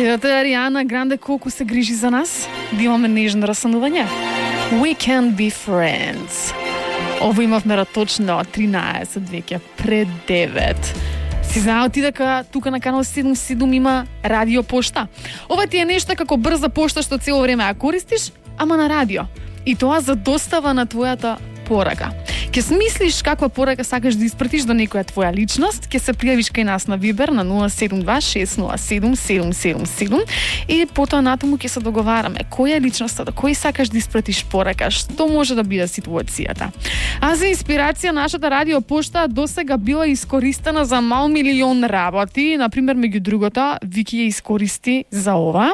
Гледате, Ариана Гранде колку се грижи за нас, да имаме нежно расанување. We can be friends. Ово имавме точно 13 веќе пред 9. Си знаел ти дека тука на канал 77 има радио пошта? Ова ти е нешто како брза пошта што цело време ја користиш, ама на радио. И тоа за достава на твојата порака. Ке смислиш каква порака сакаш да испратиш до некоја твоја личност, ке се пријавиш кај нас на Вибер на 072-607-777 и потоа натаму ке се договараме која е личноста, до кој сакаш да испратиш порака, што може да биде ситуацијата. А за инспирација нашата радио пошта досега била искористена за мал милион работи, например меѓу другото Вики ја искористи за ова.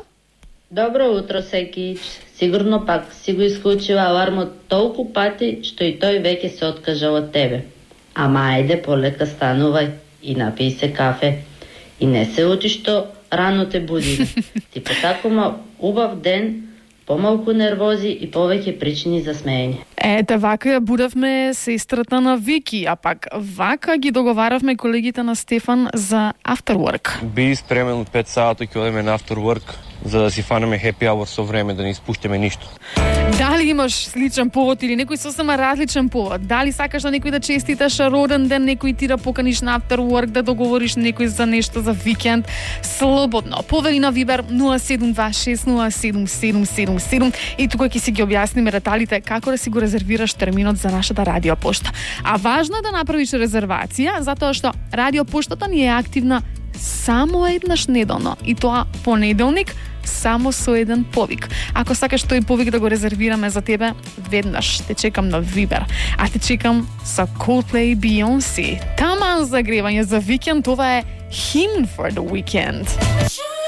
Добро утро, Секич. Сигурно пак си го исклучила алармот толку пати, што и тој веќе се откажал од тебе. Ама ајде, полека станувај и напи се кафе. И не се учи што рано те буди. Ти потакума убав ден, помалку нервози и повеќе причини за смеење. Ете, вака ја будевме сестрата на Вики, а пак вака ги договаравме колегите на Стефан за afterwork. Би спремен 5 сата ќе одеме на afterwork, за да си фанеме happy hour со време, да не испуштиме ништо. Дали имаш сличен повод или некој сосема различен повод? Дали сакаш на некој да честиташ роден ден, некој ти да поканиш на afterwork, да договориш некој за нешто за викенд? Слободно. Повели на Вибер 072-607-777 и тука ќе си ги објасниме деталите како да си го резервираш терминот за нашата радио пошта. А важно е да направиш резервација, затоа што радио поштата ни е активна само еднаш неделно и тоа понеделник само со еден повик. Ако сакаш тој повик да го резервираме за тебе, веднаш те чекам на Вибер. А те чекам со Coldplay и Beyoncé. Таман загревање за викенд, ова е Hymn for the Weekend.